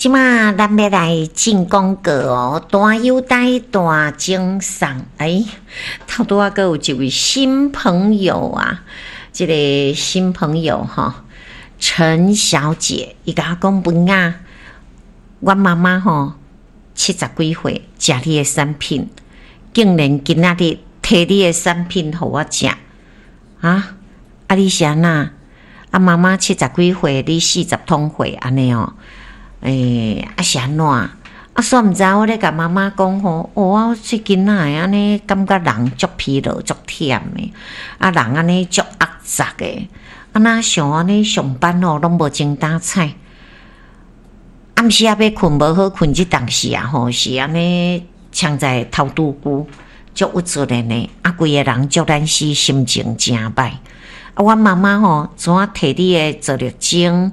這馬咱欲來進廣告哦，大優待大贈送。哎，頭拄仔閣有一位新朋友啊，這個新朋友吼，陳小姐，伊共我講文雅，阮媽媽吼70幾歲，食你的產品，竟然今仔日提你的產品予我食，啊？啊你是按怎？啊媽媽70幾歲，你40通歲按呢哦？欸，啊是按怎？啊，煞毋知我咧共媽媽講吼，哦，我最近哪會按呢感覺人足疲勞、足忝的，啊人按呢足壓雜的，啊若像按呢上班吼攏無精打采，暗時仔欲睏無好睏，這當時啊吼是按呢嗆在頭拄久，足鬱卒的呢，啊規个人足懶死，心情誠歹。啊，阮媽媽吼怎啊提你的皂綠精？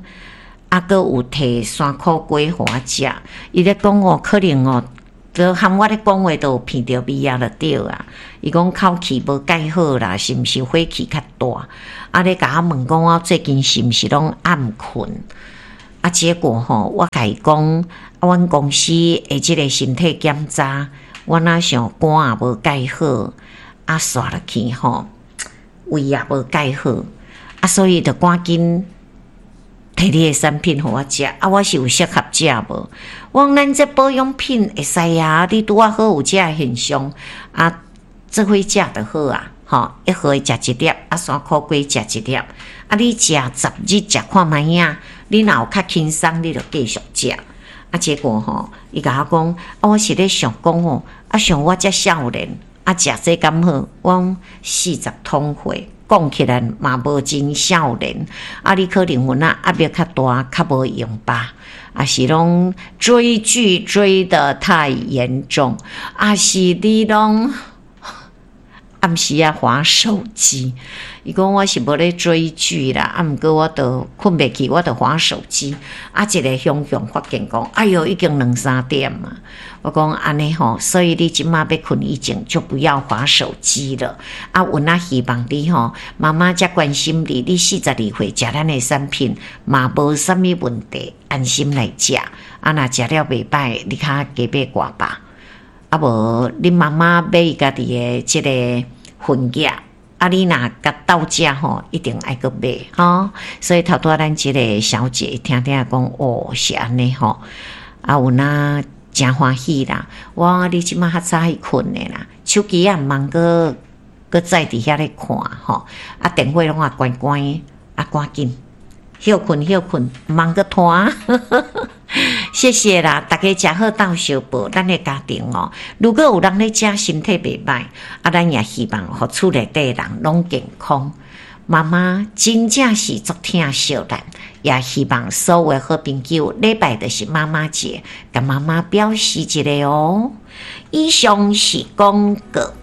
啊，閣有提山苦瓜予我食，伊咧講哦，可能哦，就含我咧講話都有鼻著味啊，就對啊。伊講口氣無蓋好啦，是毋是火氣較大？啊，咧共我問講我最近是毋是攏暗睏？啊，結果吼，我共伊講，啊，阮公司的這个身體檢查，我若像肝也無蓋好，啊，煞落去吼，胃也無蓋好，啊，所以就趕緊提你的產品予我食，啊，我是有適合食無？我講咱這保養品會使啊，你拄仔好有這个現象，啊，做伙食就好啊，吼，一盒食一粒，啊，山苦瓜食一粒，啊，你食10日食看覓仔，你若有較輕鬆，你就繼續食。啊，結果吼，伊共我講，啊，我是咧想講吼，啊，像我遮少年，啊，食這敢好？我講40通歲。講起來嘛無真少年，啊！你可能有影壓力較大，較無閒吧？抑是攏追劇追得太嚴重，抑是你攏暗時仔滑手機？伊講我是無咧追劇啦，啊，毋過我都睏袂去，我就滑手機。啊，一个雄雄發現講，哎喲，已經兩三點啊！我講按呢吼，所以你這馬欲睏以前就不要滑手機了。啊，阮也希望你吼，媽媽遮關心你，你42歲食咱的產品嘛無啥物問題，安心來食。啊，若食了袂歹，你較加買寡吧。啊無，恁媽媽買伊家己的這个份額。啊，你若共鬥食吼，一定愛閣買吼。所以頭拄仔咱這个小姐聽聽講，哦，是按呢吼。啊，有影誠歡喜啦！我講你這馬較早去睏的啦，手機也毋通閣閣再佇遐咧看吼。啊，電話攏也關關，啊，趕緊歇睏歇睏，毋通閣拖。謝謝啦，大家食好鬥相報，咱的家庭哦。如果有人咧食，身體袂歹，啊，咱也希望予厝內底人攏健康。媽媽真正是足疼惜咱，也希望所有好朋友禮拜就是媽媽節，共媽媽表示一下哦。以上是廣告，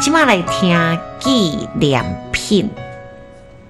這馬來聽紀念品。